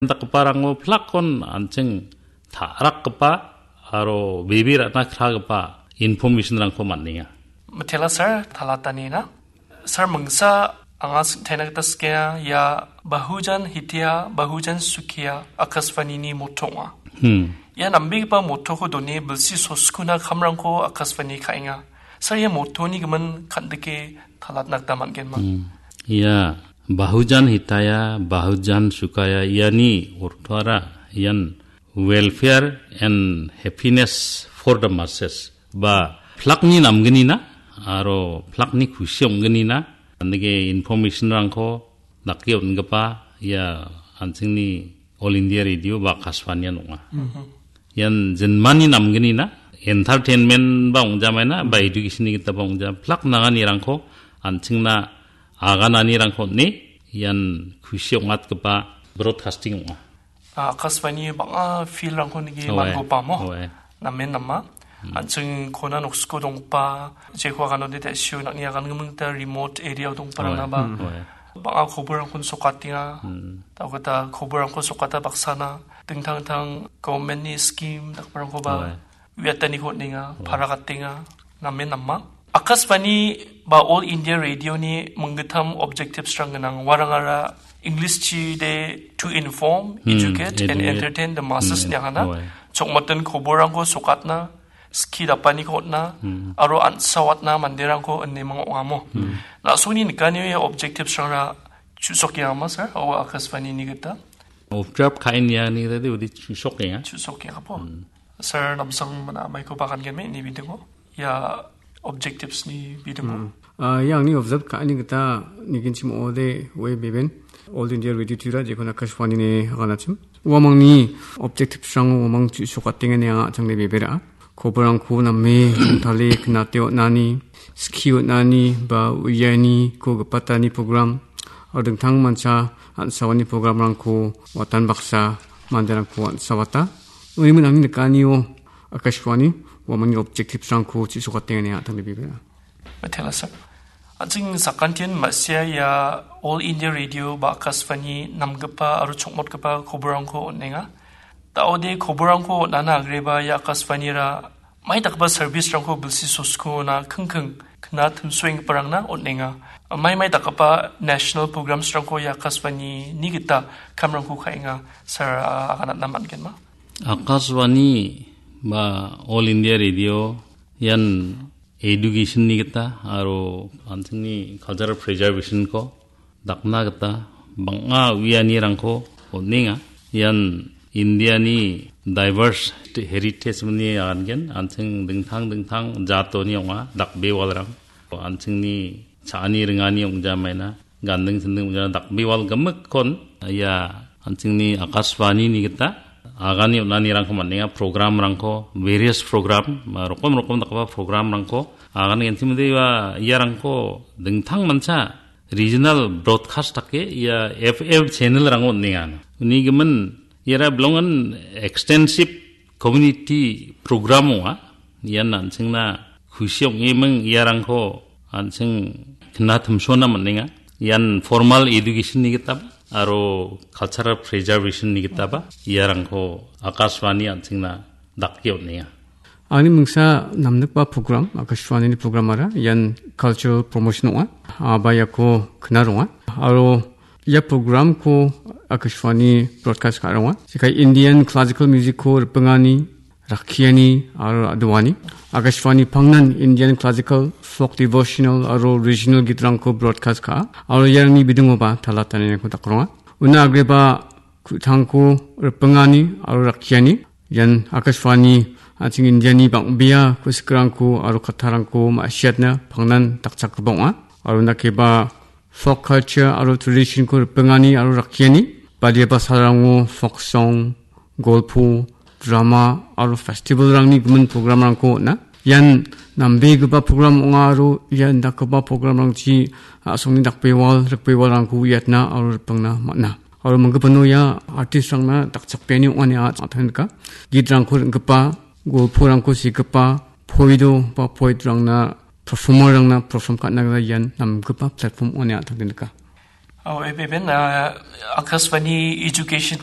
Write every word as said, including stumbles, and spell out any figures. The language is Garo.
dakgiparango plakkon an·ching ta·rakgipa aro bebe ra·na kragipa information-rangko man·enga. Mitela sir, talatanina. Sir, mingsa anga sing-, taina gita sikenga, ia Bahujan Hitaya, Bahujan Sukhiya Akashvani-ni motto ong·a. Hmm. Ia nambegipa mottoko done bilsi soskuna kamrangko Akashvani ka·enga. Sir, ia mottoni gimin kan·dike talatna gita man·genma? Hmm. Ia Bahujan Hitaya, Bahujan Sukhaya, iani ortoara ian welfare and happiness for the masses. Ba plakni namgnina aro plakni kusi ong·gnina, andike information-rangko dake on·gipa ia an·chingni All India Radio ba Akashvani-an ong·a. Mhm. Ian jinmani namgnina, entertainment ba ong·jamaina, ba education-ni gita ba ong·ja, plak nanganirangko an·chingna agananirangko on·e, ian kusi ong·atgipa broadcasting ong·a. Ah, Akashvani bang·a field-rangko nike Owe. man·gopa mo? Owe. Namen nama. Hmm. An·ching kona noksiko donggipa, jeko aganode ta·sio nang·ni agangimin gita remote area-o donggiparangna Owe. ba. Hmm. Owe. Bang·a koborrangkon sokatenga. Hmm. Tau gita koborrangko sokata baksana. Dingtang dingtang government-ni scheme dakgiparangkoba Owe. uiataniko on·enga, Owe. parakatenga. Namen nama. Akashvani ba All India Radio-ni minggittam objectives-rang gnang. Uarangara English-chi de to inform, Hmm, educate and educate. entertain the masses Hmm, ine agana. Owe. Chokmoten koborrangko sokatna, skie dapaniko on·na, Hmm. aro ansawatna manderangko ine ming ong·amo. Hmm. Na·songni nikanio ia objectives-rangra chu·sokengama, sir? O Akashvani-ni gita. Objective ka·e niani gita de udi chu·sokenga. Chu·sokengapo. Hmm. Sir, namsang mana maiko bagan geme ini bidingo. Ia objectives-ni bidingo. Hmm. Ah, ia angni objective ka·ani gita niginchim ong·ode we beben. All India Radio Tripura, jekon Akashvani ine aganachim. Uamangni objectives-rango uamang chu·sokatenga ine anga a·changde bebera. Koborrangko name rongtale knate on·ani, skie on·ani, ba uianiko gipatani program, aro dingtang mancha ansawani program-rangko watan baksa manderangko ansawata. Unimin angni nikanio Akashvani uamangni objectives-rangko chu·sokatenga ine a·tangde bebera. Mitela sir. An·ching sakantian ma·sia ia All India Radio ba Akashvani namgipa aro chokmotgipa koborrangko on·enga. Da·ode koborrangko on·ana agreba ia Akashvanira mai dakgipa service-rangko bilsi soskuna kingking kna timsoenggiparangna on·enga. Mai mai dakgipa national programs-rangko ia Akashvani-ni gita kamrangko ka·enga, sir, ah, aganatna man·genma? Akashvani ba All India Radio ian education-ni gita aro an·chingni cultural preservation-ko dakna gita bang·a uianirangko on·enga. Ian Indiani diverse heritage-mani agangen, an·ching dingtang dingtang jatoni ong·a, dakbewalrang. An·chingni cha·ani ringani ong·jamaina, ganding sinding ong·jamaina, dakbewal gimikkon ia an·chingni Akashvani-ni gita agani on·anirangko man·enga, program-rangko, various program, rokom rokom dakgipa program-rangko agani gentimode ia, iarangko dingtang mancha regional broadcast dake ia F M channel-rango on·enga. Uni gimin iara bilongan extensive community program ong·a. Ian an·chingna kusi ong·eming iarangko an·ching kna timsona man·enga. Ian formal education-ni gitaba aro cultural preservation-ni gitaba iarangko Akashvani an·chingna dake on·enga. Angni mingsa namnikba program, Akashvani-ni program-ara, ian cultural promotion ong·a. Aba iako kna ronga. Aro ia program-ko Akashvani broadcast ka·ronga. Jekai Indian classical music-ko ripengani, rakkiani aro ra·doani. Akashvani pangnan Indian classical, folk devotional aro regional git-rangko broadcast ka·a. Aro iarangni bidingoba talatanirangko dakronga. Una agreba ku·tangko ripengani aro rakkiani. Ian Akashvani an·ching Indiani bang·bea ku·sikrangko aro kattarangko ma·siatna pangnan dakchakgipa ong·a. Aro nakeba folk culture aro tradition-ko ripengani aro rakkiani. Badia basarango folk song, golpo, drama aro festival-rangni gimin program-rangko on·a. Ian nambegipa program ong·a aro ia indakgipa program-rangchi a·songni dakbewal, rikbewalrangko uiatna aro ripengna man·a. Aro manggipano ia artist-rangna dakchakbeani ong·a ine a-, a·tangnika. Git-rangko ring·gipa, golporangko segipa, poedo ba poet-rangna, performer-rangna perform ka·na gita ian namgipa platform ong·a ine a·tangde nika. Oh, eben, ah, Akashvani Education